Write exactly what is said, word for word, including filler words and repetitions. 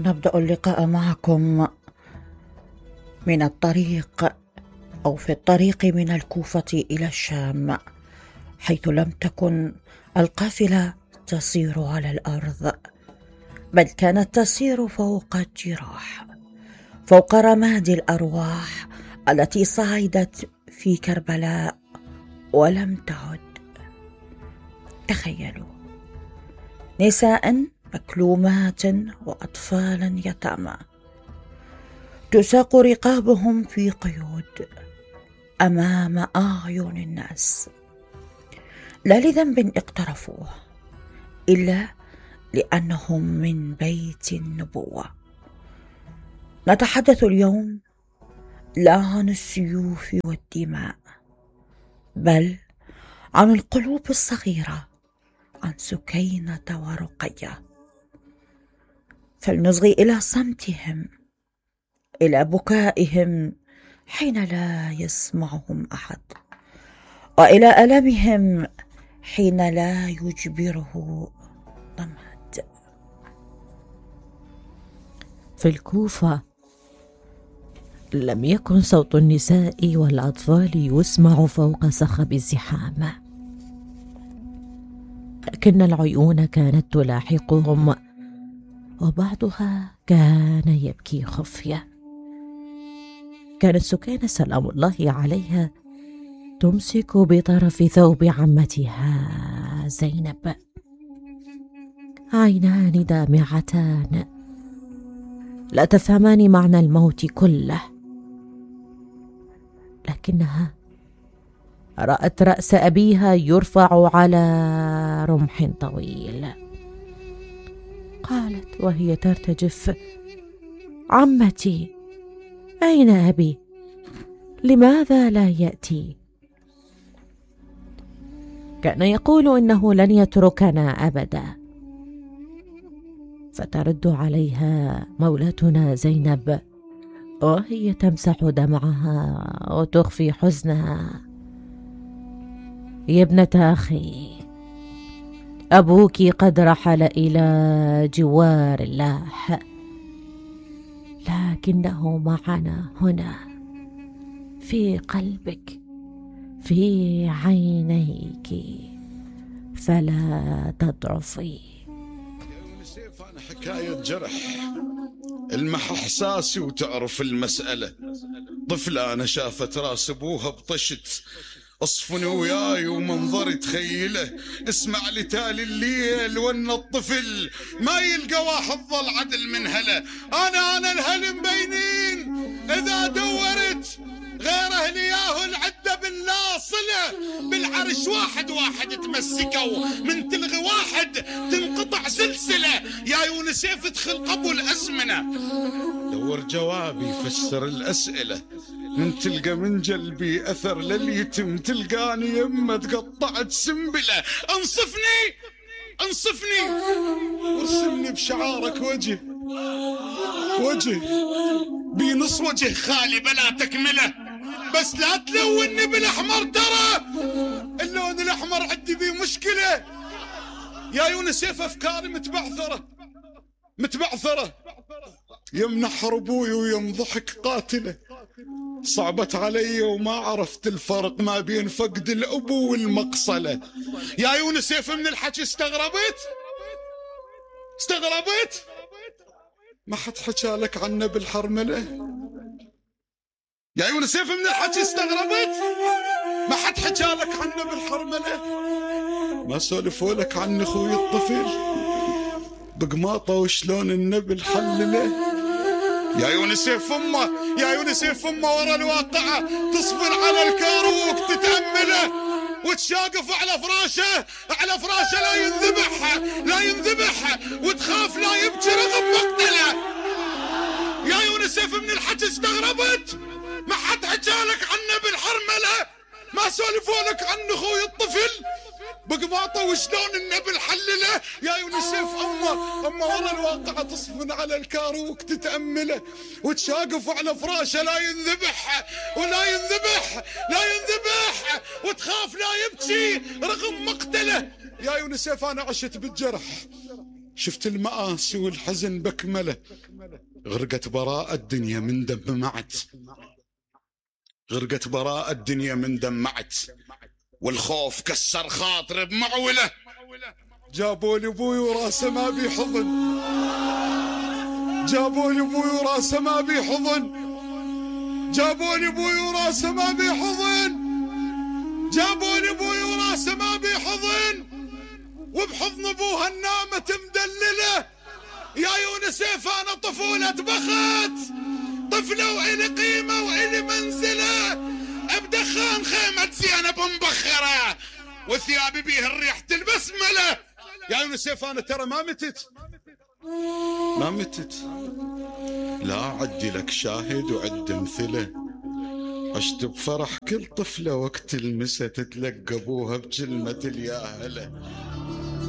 نبدأ اللقاء معكم من الطريق أو في الطريق من الكوفة إلى الشام، حيث لم تكن القافلة تسير على الأرض، بل كانت تسير فوق الجراح، فوق رماد الأرواح التي صعدت في كربلاء ولم تعد. تخيلوا نساء مكلومات وأطفالا يتامى تساق رقابهم في قيود أمام أعين الناس، لا لذنب اقترفوه إلا لأنهم من بيت النبوة. نتحدث اليوم لا عن السيوف والدماء، بل عن القلوب الصغيرة، عن سكينة ورقية. فلنصغي إلى صمتهم، إلى بكائهم حين لا يسمعهم أحد، وإلى ألمهم حين لا يجبره ضماد. في الكوفة لم يكن صوت النساء والأطفال يسمع فوق صخب الزحام، لكن العيون كانت تلاحقهم، وبعضها كان يبكي خفية. كانت سكينة سلام الله عليها تمسك بطرف ثوب عمتها زينب، عينان دامعتان لا تفهمان معنى الموت كله، لكنها رأت رأس أبيها يرفع على رمح طويل. قالت وهي ترتجف: عمتي، أين أبي؟ لماذا لا يأتي؟ كان يقول إنه لن يتركنا أبدا. فترد عليها مولاتنا زينب وهي تمسح دمعها وتخفي حزنها: يا ابنة أخي، أبوك قد رحل إلى جوار الله، لكنه معنا هنا في قلبك، في عينيك، فلا تضعفي. سيف أنا حكاية جرح المح إحساسي وتعرف المسألة. طفلة أنا شافت راس أبوها بطشت، اصفني وياي ومنظري تخيله. اسمع لي تالي الليل وان الطفل ما يلقى واحد ظل عدل من هلا. انا انا الهل مبينين، اذا دورت غير اهلي ياهو العده بالناصله. بالعرش واحد واحد تمسكوا، من تلغي واحد تنقطع سلسله. يا يونس ادخل قبو الازمنه، دور جوابي فسر الاسئله. من تلقى من جلبي أثر لليتم، تلقاني يمه تقطعت سنبلة. انصفني انصفني وارسمني بشعارك وجه وجه بنص وجه خالي بلا تكمله. بس لا تلوني بالأحمر، ترى اللون الأحمر عندي بيه مشكلة. يا يونس أفكاري متبعثرة متبعثرة. يمنحر أبوي ويم ضحك قاتلة. صعبت علي وما عرفت الفرق ما بين فقد الأبو والمقصلة. يا يونس من الحكي استغربت استغربت ما حد حكى لك عنه بالحرملة. يا يونس من الحكي استغربت ما حد حكى لك عنه بالحرملة. ما سولفوا لك عن أخوي الطفل بقماطة وشلون النبل حلله. يا يونس فمه يا يونس فمه ورا الواقعة تصبر على الكاروك تتأمله، وتشاقف على فراشه على فراشه لا ينذبح لا ينذبح، وتخاف لا يبكي رغم مقتله. يا يونس من الحكي استغربت ما حد حكى لك عنه بالحرملة. ما سولفوا لك عن اخوي الطفل بقماطه وشلون النبل حلله. يا يونسف امه امه ورا الواقعه تصفن على الكاروك تتامله، وتشاقف على فراشه لا ينذبح ولا ينذبح لا ينذبح، وتخاف لا يبكي رغم مقتله. يا يونسف انا عشت بالجرح، شفت المآسي والحزن بكمله، غرقت براءة الدنيا من دمعت، غرقت براءة الدنيا من دمعت، والخوف كسر خاطري بمعوله. جابوا لي ابوي وراسه ما بي حضن، جابوا لي ابوي وراسه ما بي حضن، جابوا لي ابوي وراسه ما بي حضن، جابوا لي ابوي وراسه ما بي حضن، وبحضن ابوها النامة مدلله. يا يونسيف انا طفولة بخت، طفلة وإلي قيمة وإلي منزلة، بدخان خيمة زينب مبخرة، وثيابي بيه الريح البسملة. يا يونسيف انا ترى ما متت، ما متت، لا عدي لك شاهد وعد مثله. عشت بفرح كل طفلة وقت المسا تتلقى ابوها بكلمة اليا هلا.